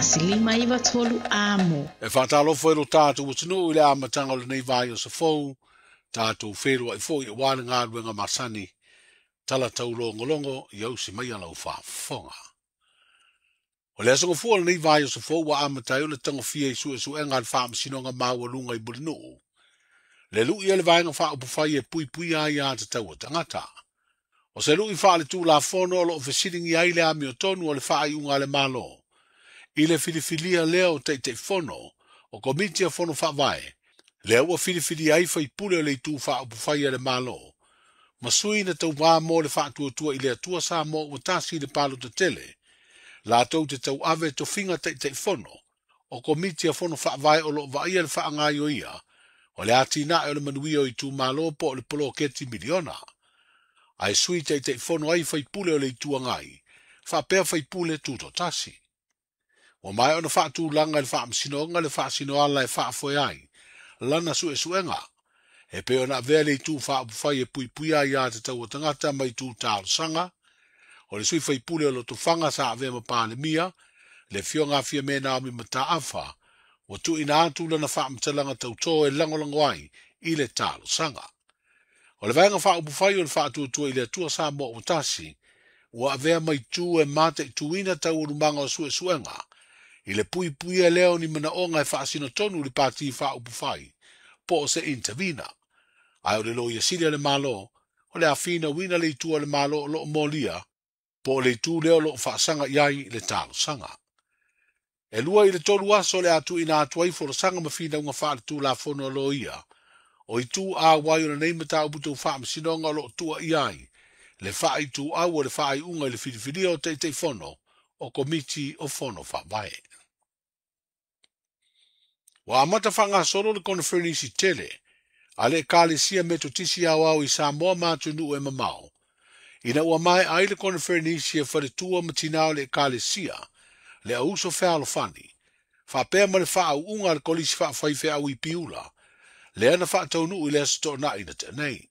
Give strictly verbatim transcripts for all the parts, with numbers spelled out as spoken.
tasi lima iva tolu amo. E whātālofo e lo tātou atunuu i le amataga o lenei vai o safou, tātou whenua i fo i wāle ngā masani, tala taulongolongo i au si mai ala o whaafonga. O le aso fua lenei vai o safou wa amatai o le tangofia i sue suenga le whaamasinoga maua lunga i Mulinuu. Le lui e le vaenga whaopufai e pui pui ai a te taua tangata. O se lui wha le tū la fono o lo fesilingi ai le ami o tonu o le whaaiunga le malo. I le filifilia leo te te fono o komiti a fono whaavae. Le ua filifili ai whaipule o le itu whaopufai a le malo. Masui na tau wā mō le whaatuatua i le atua sa mō ua tasi le palo te tele. La tau te tau ave to finga te te fono. O komiti a fono whaavae o lo vaia le whaangai o ia. O le ati na o le manuia o i tū malo po o le poloketi miliona. Ai sui te te fono ai whaipule o le itu angai. Whapea whaipule tūto tasi. O mai ona whaatūlanga le whaamasinoga le whaasinoala e whaafoe ai. Lana sue suenga. E pe ona avea le itu whaapufai e pui pui ai a te taua tangata mai tū taalosanga. O le sui whaipule o Lotofaga sa avea mapālemia. Le fionga fia mena o mi mataafa. Ua tuuina atu lana faamatalaga tautō e lagolago ai i le talosaga. O le vaega faaupufai o le faatuatua i le Atua Samoa ua tasi, ua avea mai tū e mataituina taualumaga o suesuega, i le puipuia lea o ni manaoga e faasino tonu le pati faaupufai, po o se intervina. Ae o le loia sili a le Malo, o le afina uina le itu a le Malo o loo molia, po o le itu lea o loo faasaga i ai le talosaga. E lua i le tolu aso le atu ina atu ai folasaga ma finauga faale-tulafono a loia. O itu a wai o lenei mataupu tau faamasinoga o loo tua i ai. Le faaituau o le faaiuga i le filifilia o Taitaifono o Komiti o Fono Faavae. Ua amata faagasolo le koneferenisi tele a le Ekalesia Metotisi Aoao i Samoa ma atunuu e mamao. Ina ua mae ai le koneferenisi e faletua ma tinā o le Ekalesia, le auso fealofani, faapea ma le faauuga a le kolisi faafaifeau i Piula, lea na faataunuu i le aso toonai na tea nei.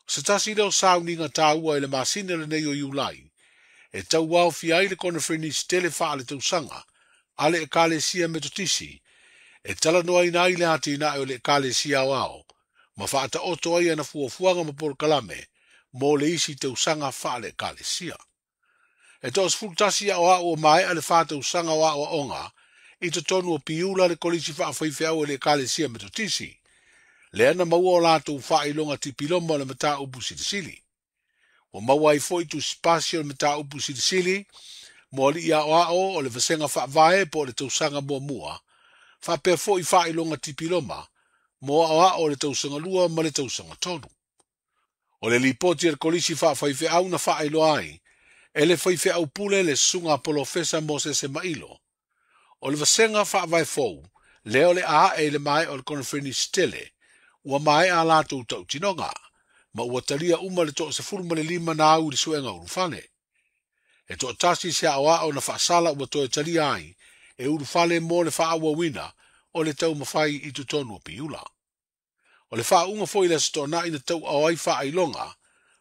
O se tasi leo sauniga tāua i le masina lenei o Iulai, e tauaofia ai le koneferenisi tele faaletausaga a le Ekalesia Metotisi, e talanoaina ai le atinae o le Ekalesia Aoao, ma faataoto ai ana fuafuaga ma polokalame mo le isi tausaga faale-Ekalesia. E toasefulutasi aoao o maea le whātausaga o aoaoga i totonu o Piula le kolisi faafaifeau e le Ekalesia Metotisi, lea na maua o latou faailoga tipiloma o le mataupu silisili. Ua maua ai foi tusipasi o le mataupu silisili mo alii aoao o le vasega faavae po o le tausaga muamua, faapea foi faailoga tipiloma mo aoao o le tausaga lua ma le tausaga tolu. O le lipoti a le kolisi faafaifeau na faailoa ai, e le faifeau pule le susuga polofesa Mosese Mailo. O le vasega faavae fou, lea o le aae i le maea o le koneferenisi tele, ua maea a latou tautinoga, ma ua talia uma le toasefulu ma le lima na au i le suega ulufale. E toatasi se aoao na faasala ua toe talia ai, e ulufale mo le faaauauina o le taumafai i totonu o Piula. O le faauuga foi i le aso toonai na tauao ai faailoga,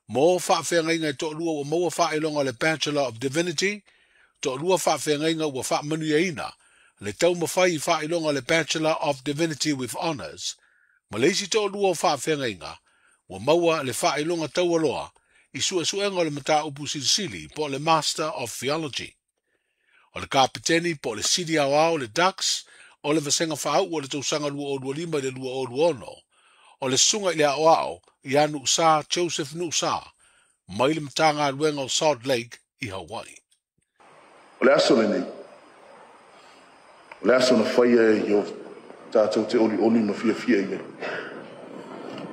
mo faafeagaiga e toalua ua maua faailoga o le Bachelor of Divinity, toalua faafeagaiga ua faamanuiaina le taumafai i faailoga o le Bachelor of Divinity with Honors, ma le isi toalua o faafeagaiga ua maua le faailoga taualoa i suesuega o le mataupu silisili po o le Master of Theology. O le kapiteni po o le sili aoao le Dux o le vasega faauu o le tausaga lua o lua lima i le lua o lua ono, o le susuga i le aoao ia Nuusa Joseph Nuusa mai le Matagaluega o Salt Lake i Hawaii. O le aso lenei, o le aso na faia e o tātou te olioli ma fiafia i ai.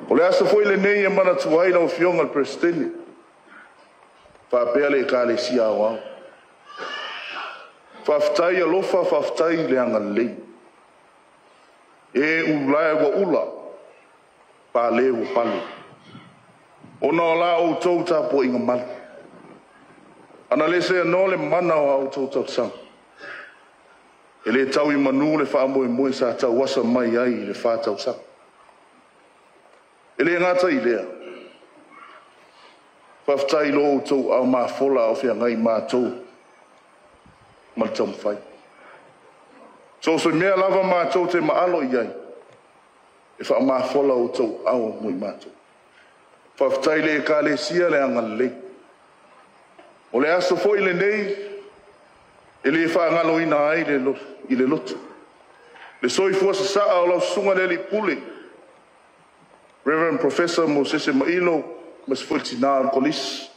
O le aso foi lenei e manatu ai lau Afioga le Peresetene, faapea le Ekalesia Aoao. Faafetai alofa, faafetai le agalelei. E ulae ua ula, pale ua pale. Ona o la outou tapuaiga malu. Ana le sea no le mana o a outou tausaga. E le tau i manu le faamoemoe sa tauasa mai ai i le fa tausaga. E le gata i lea. Faafetai lo outou au mafola o feagai matou ma le taumafai. So se mea lava mātou te maalo i ai, e whaamafola o tau awa mui mātou. Whawhitai le e kālesia le angalelei. O le aso foi le nei, e le whaangalo ina ai le lo, i le loto. Le soifua sasaa o lau susuga le alii pule, Reverend Professor Mosese Mailo, ma se foi tina o le kolisi.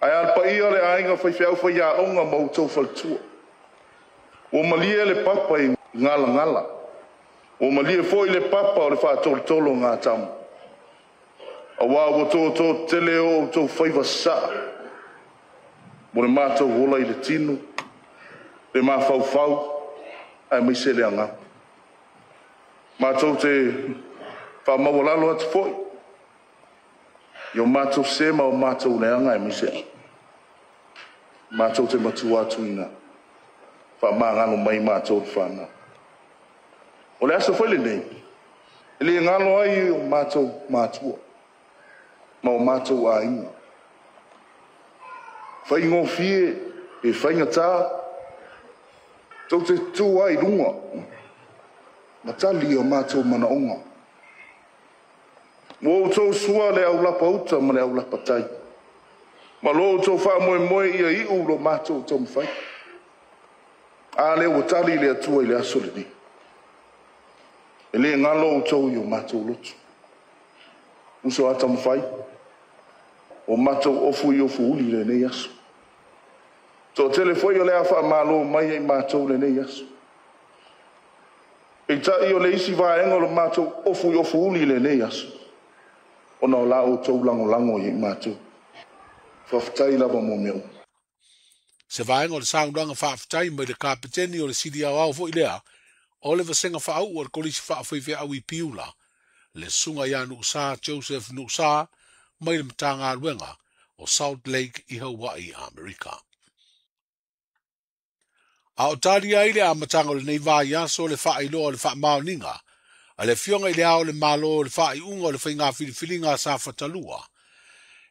Ae a le paia le aiga faifeau faiaoga ma outou faletua. Ua malie le papa i ngalangala. Ua malie foi le papa o le whaatolotolo ngā tamu. Aua ua tōtō tele o outou faiva sasaa. Mo le mātou ola i le tino, le mafaufau, ae maise le agaga. Mātou te whaamaualalo atu foi. I o mātou sema o mātou leanga e maise. Mātou te matua atu ina. Whaamangalo mai mātou te whanau. O le aso foi le nei, e le ngalo ai o mātou mātua, ma o mātou aiga. Whaingofie e whaingatā, tau te tū ai runga, ma tali o mātou manaonga. Mo outou sua le aulapa uta ma le aulapa tai. Ma lo outou whaamoemoe ia iu lo mātou taumawhai. A le ua tali le atua i le aso lenei. E le ngalo outou i o mātou lotu. Uso a taumawhai, o mātou ofu i ofu uli lenei aso. Tō tele foi o le a whaamalo mai ai mātou lenei aso. Peitai o le isi vaenga o le mātou ofu i ofu uli lenei aso. Ona o la outou langolango i mātou. Whawhitai lava mo mea. Se vaenga o le saunanga whaawhitai mai le kapiteni o le sili au au foi lea, o le vasenga whaau o le kolisi whaawhaiwhea au i Piula, le sunga ia Nuusa Joseph Nuusa mai le matanga o Salt Lake i Hawaii, Amerika. A o tali ai le amatanga o le nei vai aso le whaailoa o le whaamaoninga, a le fionga i le ao le malo o le whaaiunga o le whainga filifiliga sa whatalua.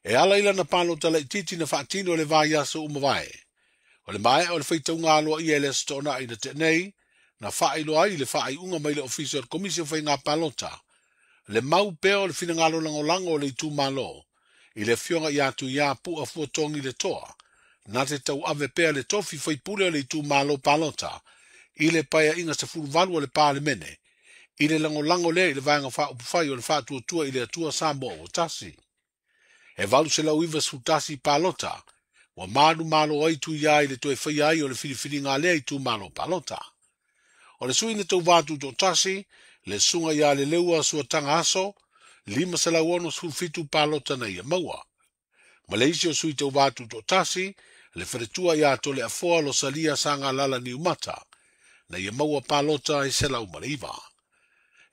E ala ila na palo tala i titi na whaatino le vai aso umavae. O le mae o le whaitaunga aloa ia le stona i na te nei, na whaailoa ai le whaaiunga mai le ofisa o le komisi o whainga palota. Le mau peo le finangalo langolango o le itu malo, i le fionga i atu ia pua fuatongi le toa, na te tau ave pea le tofi whaipule o le itu malo palota, i le paia inga se fuluvalu o le pālemene, i le langolango le i le vaenga whaupufai o le whaatuatua i le atua Samoa o tasi. E valu se lau iwa sutasi palota, wa manu malo ai tu ia i le toe whai ai o le filifili lea i tu malo palota. O le sui na tau vātu tō tasi, le sunga ia le leua suatanga aso, lima se lau ono sulufitu palota na ia maua. Malaysia o sui tau vātu tō tasi, le wharetua ia tole afoa lo salia sanga lala ni umata, na ia maua palota e se lau mareiva.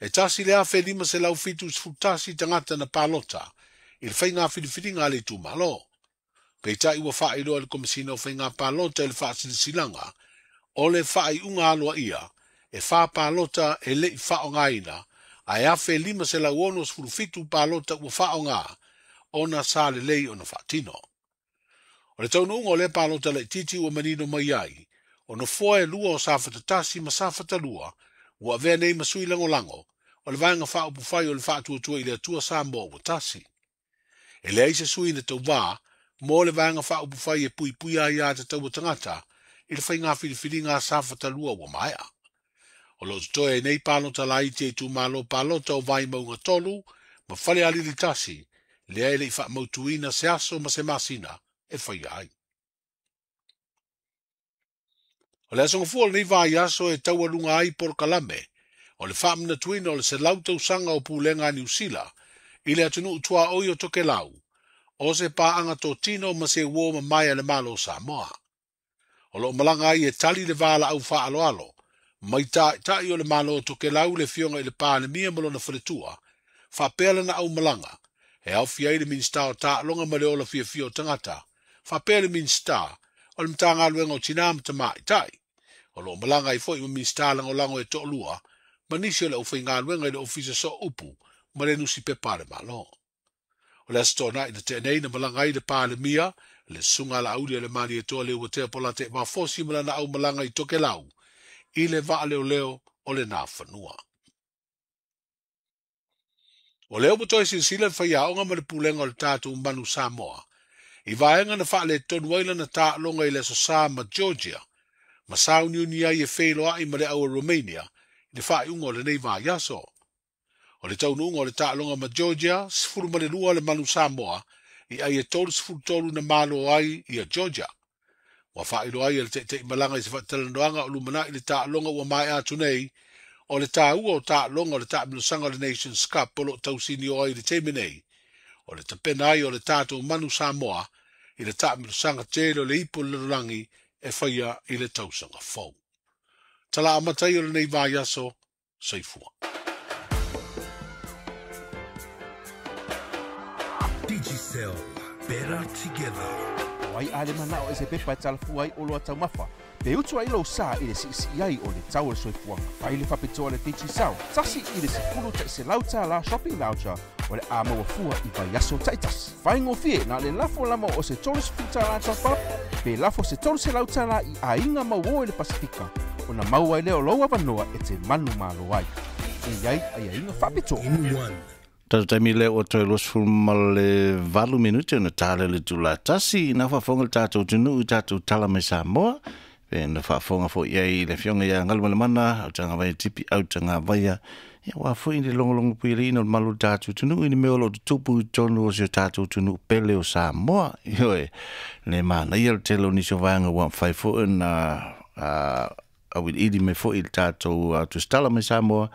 E tasi le afe lima se lau fitu sfutasi tangata na palota, i le whainga filifiliga le tu malo. Peitai ua whaailoa le komisina o whainga palota i le whaasilisilanga, o le whaaiunga aloa ia, e wha palota e lei whaongaina, a e afe lima se lau ono sfulufitu palota ua whaonga, ona sa le lei ona whaatino. O le taunuunga o le palota le titi ua manino mai ai, o no foa e lua o sa whatatasi ma sa whatalua, ua avea nei masui langolango, o le vaenga whaupufai o le whaatuatua i le atua Samoa ua tasi. E leai se sui na tau vā, mo le vaenga whaupufai e pui pui ai a te taua tangata, i le whainga filifiliga sa whatalua ua maea. O lo totoe e nei palota lai te tu malo palota o vai maunga tolu, ma whale alili tasi, lea e le i whaamautuina se aso ma se masina e whai ai. O le asonga fua o lenei vai aso e taualunga ai porokalame, o le whaamanatuina o le se lau tausanga o pulenga a Niu Sila, i le atunuu tuaoi o Tokelau, o se paanga tō tino ma se uo ma mai a le malo o Samoa. O lo malanga ai e tali le wāla au whaaloalo, mai tai o le malo o Tokelau le fionga i le pālemia ma lona whaletua, whapea na au malanga, e au fia i le minista o tālonga ma le ola fia fia o tangata, whapea le minista o le mtanga aluenga o tina ma tamai tai. O lo malanga i foi ma minista langolango e to'olua, ma nisi o le au whainga aluenga i le ofisa so upu, ma le nusi pepa le malo. O le asitona i na tēnei na malanga i le pālemia, le sunga la auli o le mani e toa le ua tea pola te mafosi ma lana au malanga i Tokelau, i le vaaleoleo o lena fanua. O lea ua toe silasila le faiaoga ma le pulega o le tatou manu Samoa, i vaega na faaletonu ai lana taaloga i le Aso Sa ma Georgia, ma sauniuni ai e feiloai ma le au Romania i le faaiuga o lenei vaiaso. O le taunuuga o le taaloga ma Georgia, sefulu ma le lua le manu Samoa, i ai e tolu tolu na malo ai ia Georgia. Ua faailoa ai e le taitaimalaga i se faatalanoaga o lumanai le taaloga ua maea atu nei, o le taua o taaloga o le taamilosaga o le Nations Cup o loo tausini o ai i le taimi nei, o le tapena ai o le tatou manu Samoa i le taamilosaga tele o le ipu o le lalolagi e faia i le tausaga fou. Tala amata ai o lenei vaiaso, soifua. Digicel, better together. Ai ale mana o se pepa talafua ai o loa taumafa. Pe utu ai lou sa i le siisii ai o le tau o le soifuaga. Fai le faapitoa le Digicel, tasi i le sefulu taʻiselau tālā shopping voucher o le a mauafua i vaiaso taʻitasi. Faigofie na le lafo lama o se tolu sefulu tālā top-up, pe lafo se tolu selau tālā i aiga mauō i le Pasifika, ona maua ai lea o lou avanoa e te manu malo ai. E iai aiaiga faapitoa. In one. Tatou taimi lea ua toe luasefulu ma le valu minute ona tale le tula tasi na faafofoga le tatou atunuu i tatou tala mai Samoa pe na faafofoga foi ai le afioga ia Galumalemana Autagavaia Tipi Autagavaia ia ua foi le logologo puialiina o le malu o le tatou atunuu i le mea o loo tutupu i totonu o si o tatou atunuu pele o Samoa. Ioe, le manaia le tele o nisi o vaega ua mafai foi ona auiliili mai foi i le tatou tusitala mai Samoa,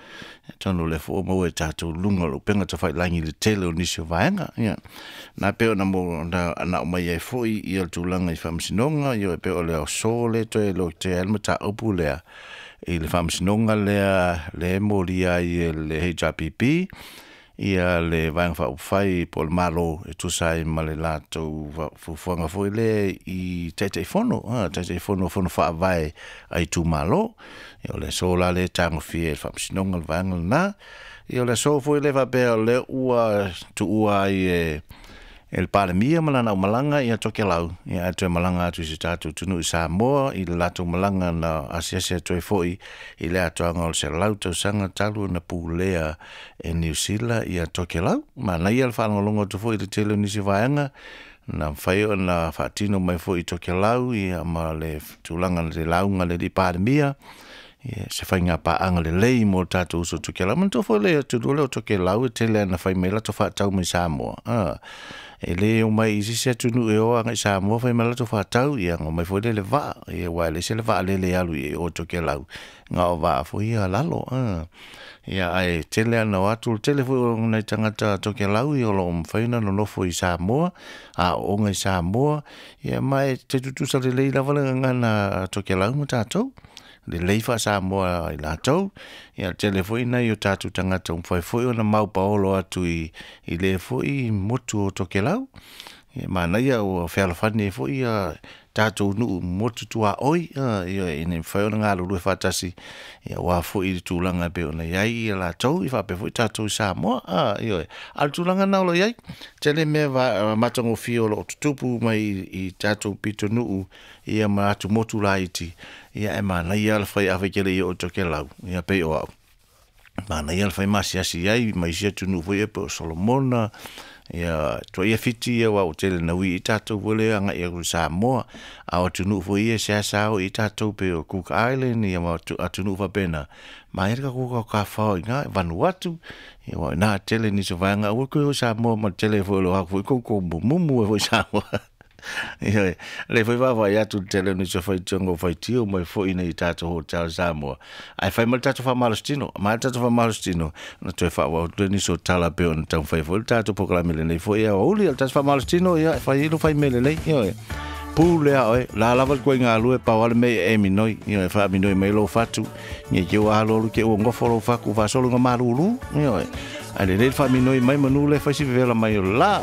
tonu le fo maua e tatou luga o le upega tafailagi i le tele o nisi o vaega. Ia, na pe ona mo na na mai ai foi ia le tulaga i faamasinoga, ia pe o le aso le toe lo te ai le mataupu lea i le faamasinoga lea le molia ai e le H R P P ia le vaega faaupufai po o le malo e tusa ai ma le latou fuafuaga foi lea i taitaifono, taitaifono o fono faavae a itumalo. Ia o le aso la lea e tagofia e le faamasinoga le vaega lena. Ia o le aso foi lea faapea o lea ua tuua ai e e le Palemia ma lana aumalaga ia Tokelau, ia ae toe malaga atu i se tatou atunuu i Samoa i le latou malaga na asiasi atu ai foi i le atoaga o le selau tausaga talu ona pulea e Niu Sila ia Tokelau. Manaia le faalogologo atu foi i le tele o nisi vaega na mafai ona faatino mai foi i Tokelau ia ma le tulaga le lauga le alii Palemia ia se faiga paaga lelei mo le tatou uso Tokelau. Manatua foi le atunuu lea o Tokelau e tele ana fai mai latou faatau mai Samoa. Ah, e le o mai i sisi atunuu e o agai Samoa fai mai latou faatau, ia ngo mai foi le le vaa, ia ua e le se le vaa lele alu i o Tokelau, ngā o vaa foi ia lalo. Ah, ia ae tele ana o atu, tele foi o nai tagata Tokelau ia o loo mafai ona nonofo i Samoa, a ooga i Samoa, ia ma e te tutusa lelei lava le gagana Tokelau ma tatou. Lelei faa-Samoa i latou, ia tele foi nai o tatou tagata mafai foi ona maupaolo atu i, i le foi motu o Tokelau. Ia manaia ua fealofani ai foi ia tatou nuu motu tuaoi, ia ina ia mafai ona galulue faatasi, ia aua foi i le tulaga e pei ona i ai ia latou, i faapea foi tatou i Samoa. Ioe, a o le tulaga na o lo o i ai, tele mea matagofie o loo tutupu mai i tatou pitonuu ia ma atu motu laiti, ia e manaia le fai afai kele i o Tokelau, ia pei o au. Manaia le fai masiasi ai ma isi atunuu foi ia pei o Solomona, ia tua ia Fiti ia ua o tele na ui i tatou foi lea agai atu i Samoa, a o atunuu foi ia se asa o i tatou pei o Cook Island ia ma atunuu faapena. Maia le kakou kafao i ngā Vanuatu, ia ua ina tele nisi o vaega aua koe o Samoa ma tele foi o lo haku foi koukou mumumu e foi Samoa. Ia, le foi vaavaai atu le tele o nisi o faitioga o faitio mai foi nei i tatou hotel Samoa. Ae fai mai le tatou faamalositino, mai le tatou faamalositino, na toe faaauau atu le nisi o tala pei ona taumafai foi le tatou polokalame lenei foi ia aoauli, o le tatou faamalositino, ia, e fai ai lo fai mea lelei, ioe. Pū lea oe, la lava le koe galue, pau ale mea e minoi, ioe, faaminoi mai lou fatu, nge ke ua alo alu ke ua gofo lou faku faasolo ga malūlū, ioe. Ae lelei le faaminoi mai manu le fai si vevela mai o le la.